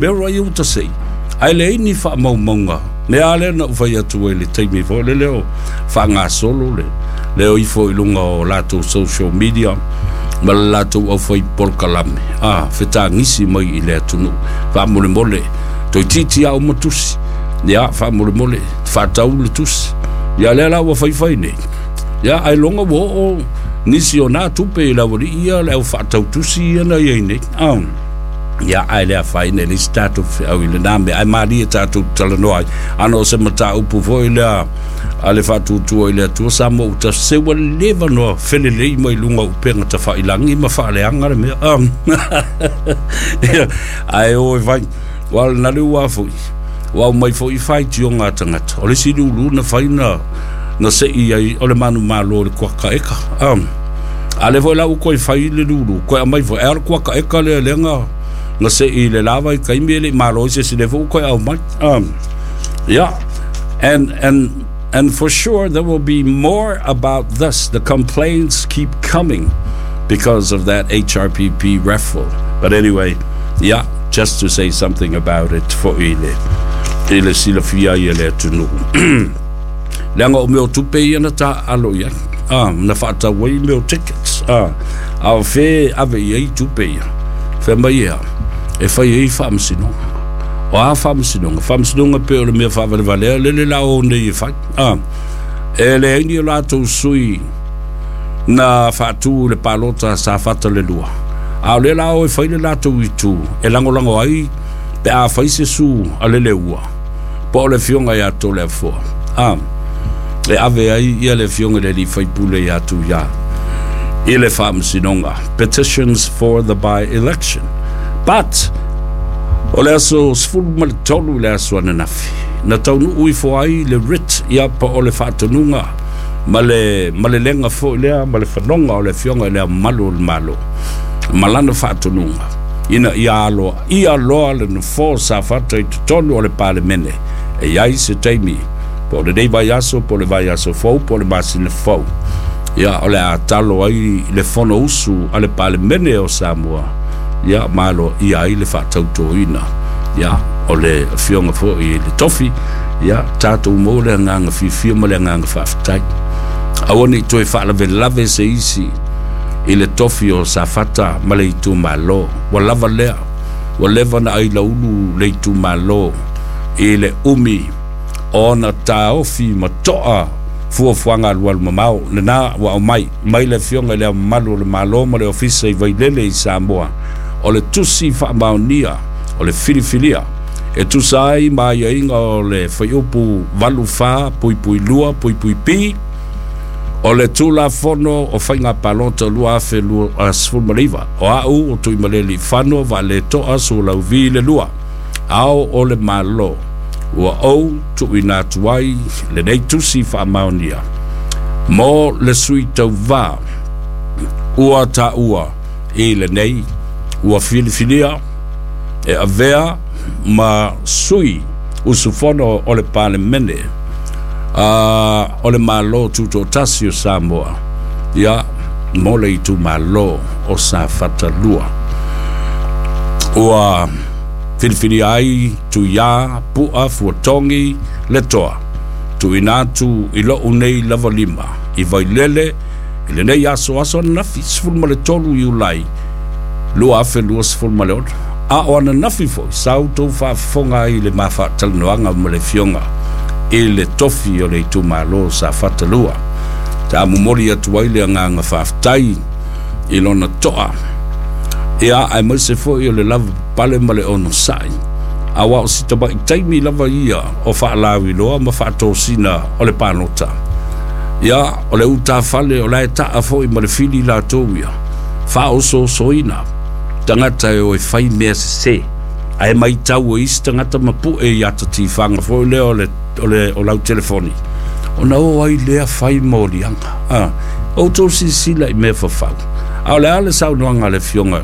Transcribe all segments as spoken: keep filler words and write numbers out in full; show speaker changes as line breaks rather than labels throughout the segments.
Mea ia ua tasei ae leai ni faamaumauga mea a lea na ou fai atu ai i le taimi foi lele o faagasolo le le o ifo i luga o latou social media ma le latou aufai polokalame a fetagisi mai i le atunuu. Faamolemole, toeitiiti lava uma tusi, ia faamolemole faatau le tusi ia lea la ua faifai nei ia ailoga ua oo nisi o na tupe i le aualii ia le au faatau tusi ia na iai nei a ia ae le afaina e leai se tatou feau i lena mea ae malie tatou talanoa ai ana o se mataupu foi lea a le Faatuatua i le Atua Samoa ua tasi se ua leva ona felelei mai luga o upega tafailagi ma faaleaga le mea ae o e fai ua o lena le ua foi ua aumai foi faitioga a tagata o le isi lulu na fai na na sei ai o le manumalo i le kuaka eka a lea foi la ua toe fai le lulu toe aumai foi ae o le kuaka eka lea lea na na sei i le lava i taimi e le i malo ai se isi lea foi ua toe aumai. Yeah, and and and for sure there will be more about this. The complaints keep coming because of that H R P P raffle. But anyway, yeah, just to say something about it foi le i le silafia ai e le atunuu. Leaga o mea o tupe ia na taaalo i ai ah, na faatau ai mea o tickets ah, a o fe ave i ai tupe ia fai mai ia e fai ai faamasinoga. O a faamasinoga? Faamasinoga pe o le mea faavalevalea lele la o nei e fai ah, e leai ni o latou sui na faatu le palota Safata le lua a o lea la o e fai le latou itu e lagolago ai pe a fai se su a le leua po o le afioga ia Toleafoa ah, e ave ai ia le afioga i le alii faipule ia Tuia i le faamasinoga. Petitions for the by-election. But o le aso sefulu ma le tolu i le aso ananafi na taunuu ifo ai le writ ia pa o le faatonuga ma le ma le lega foi lea ma le fanoga o le afioga i le Ao Mamalu o le Malo ma lana faatonuga ina ia aloa ia loa le nofoa o Safata i totonu o le Palemene e i ai se taimi po o lenei vaiaso po o le vaiaso fou po o le masina fou ia o le a talo ai le fonousu a le Palemene o Samoa ia ma aloaia ai le faatautoina ia o le afioga foi i le tofi ia tatou maua le agaga fiafia ma le agaga faafetai. Aua ne i toe faalavelave se isi i le tofi o Safata ma le itumalo ua lava lea ua leva na ailaulu le itumalo i le umi ona taofi ma toa fuafuaga alualu mamao lena ua aumai mai le afioga i le Ao Mamalu o le Malo ma le Ofisa i Vailele i Samoa o le tusi faamaonia o le filifilia e tusa ai ma aiaiga o le fuaiupu valu fa puipui lua puipui P o le Tulafono o Faiga Palota lua afe sefulu ma le iva o a'u o Tuimaleliifano Vaaleto'a Sualauvi le lua ao o le Malo ua ou tuuina atu ai lenei tusi faamaonia mo le sui tauvā ua taua i lenei ua filifilia e avea ma sui usufono o le Palemene a o le Malo Tutoatasi o Samoa ia mo le itumalo o Safata lua ua filifilia ai Tuia Pu'a Fuatogi le Toa tuuina atu i lou nei lava lima i Vailele i lenei aso aso ananafi sefulu ma le tolu Iulai lua afe luasefulu ma le ono a o ananafi foi sa outou faafofoga ai i le mafaatalanoaga ma le afioga i le tofi o le itumalo Safata lua ta momoli atu ai le agaga faafetai i lona toa ia aemaise foi o le lava papale ma le onosai aua o si tama'i taimi lava ia o faalauiloa ma faatosina o le palota ia o le utafale o la e taa foi ma le fili latou ia faaosoosoina tagata e o e fai mea sesē ae matau e isi tagata ma pu'e i ata tifaga foi lea o le o le o lau telefoni ona o ai lea fai moliaga a outou silasila i mea fafau a o le a le saunoaga a le afioga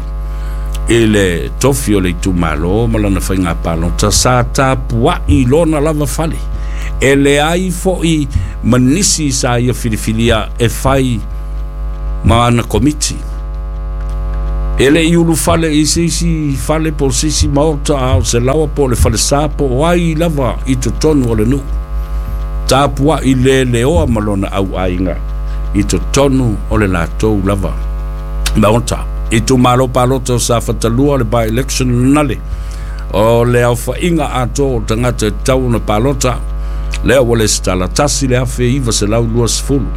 i le tofi o le itumalo ma lana faiga palota sa tapua'i lona lava fale e leai foi ma nisi sa ia filifilia e fai ma ana komiti. E le i ulufale i se isi fale po o se isi maota a o se laoa po o le falesa po o ai lava i totonu o le nuu. Tapuai leleoa ma lona auaiga i totonu o le latou lava maota. Itumalo palota o Safata lua, le by-election nale o le aofaiga atoa o tagata e tatau ona palota lea ua lesitala tasi le afe iva selau luasefulu.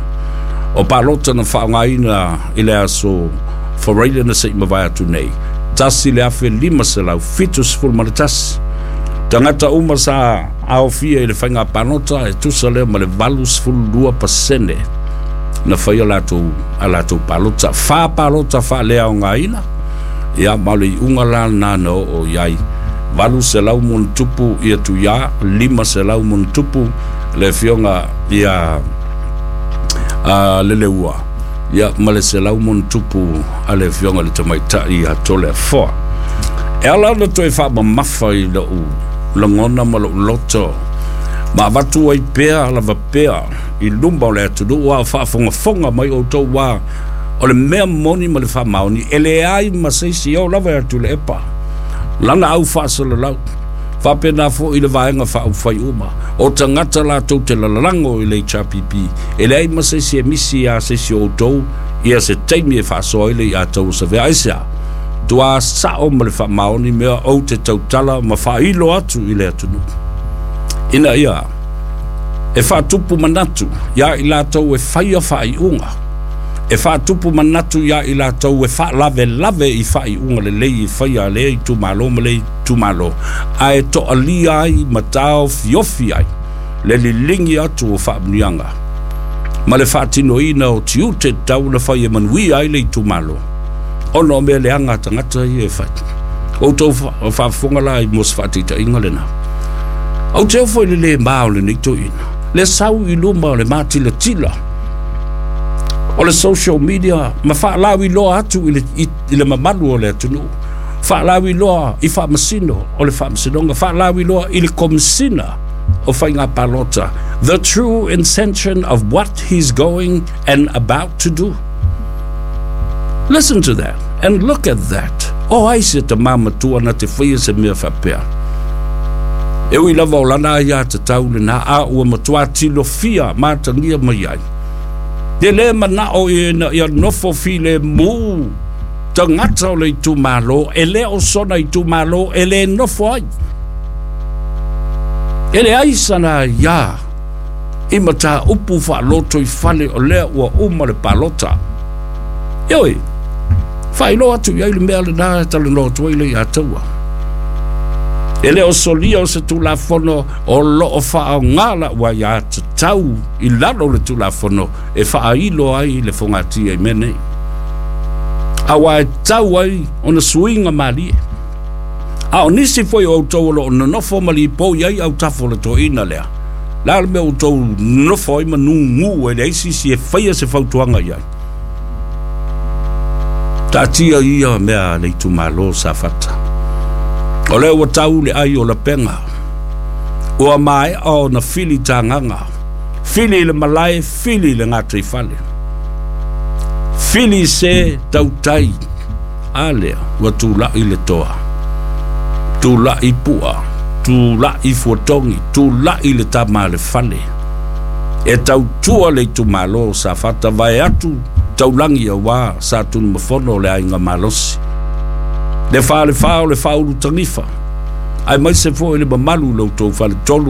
O palota na faaaogaina i le aso Faraile na se i mavae atu nei, tasi le afe lima selau fitusefulu ma le tasi. Tagata uma sa aofia i le faiga palota e tusa lea ma le valusefulu lua pasene na faia latou a latou palota. Fa palota faaleaogaina, ia ma o le iuga la lena na oo i ai valu selau tupu ia Tuia, lima selau tupu le afioga ia a Leleua, ia ma le selau tupu a le afioga le tamaitai ia Toleafoa. E ala ona toe faamamafa i lou lagona ma lou loto ma avatu ai pea lava pea i luma o le atunuu a o faafogafoga mai outou ua o le mea moni ma le faamaoni e leai ma se isi oo lava e atu le epa lana au faasalalau. Faapena foi i le vaega faaupufai uma o tagata latou te lalago i le H R P P e leai ma se isi e misi a se isi o outou ia se taimi e faasoa ai le ia tau o savea. Aisea tua sao ma le faamaoni mea ou te tautala ma faailo atu i le atunuu ina ia e faatupu manatu ia i latou e faia faaiuga, e faatupu manatu ia i latou e faalavelave i faaiuga lelei e faia lea itumalo ma le itumalo, ae toalia ai ma taofiofi ai le liligi atu o faamuniaga ma le faatinoina o tiute tatau na fai e manuia ai le itumalo ona o mea leaga a tagata ia e fai. Outou faafofoga la i mo se faataitaiga lena. Ou te ofo i le le ma o lenei toeaina le sau i luma o le matilatila o le social media ma faalauiloa atu i le, i, i le mamalu o le atunuu, faalauiloa i faamasino o le faamasinoga, faalauiloa i le komisina o faiga palota, the true intention of what he's going and about to do. Listen to that and look at that. O ai se tamā matua na te faia se mea faapea. E ui lava o lana aiā tatau lena a ua matua tilofia matagia mai ai. E le manao ina ia nofo filemu tagata o le itumalo, e le o sona itumalo e le nofo ai. E leai sana aiā i mataupu faaloto i fale o lea ua uma le palota. Ioe, faailoa atu i ai le mea lena e talanoa atu ai le ia taua. E le o solia o se tulafono o loo faaoga lau aiā tatau i lalo o le tulafono e faailo ai le fogatia i mea nei. Aua e tau ai ona suiga malie. A o nisi foi o outou o loo nonofo ma lipoi ai autafa o le toeaina lea. La le mea outou nonofo ai ma nugu e leai se isi e faia se fautuaga i ai. Taatia ia mea a le itumalo Safata. O lea ua tau le ai o lapega. Ua maea ona fili tagaga. Fili i le malae, fili i le gataifale. Fili se tautai. A lea ua tulai le toa. Tulai pua, tulai fuatogi, tulai le tama a le fale. E tautua le itumalo Safata vae atu taulagi auā sa Tunumafono o le aiga malosi. Le falefa o le faaulu tagifa aemaise foi le mamalu i lo outou faletolu.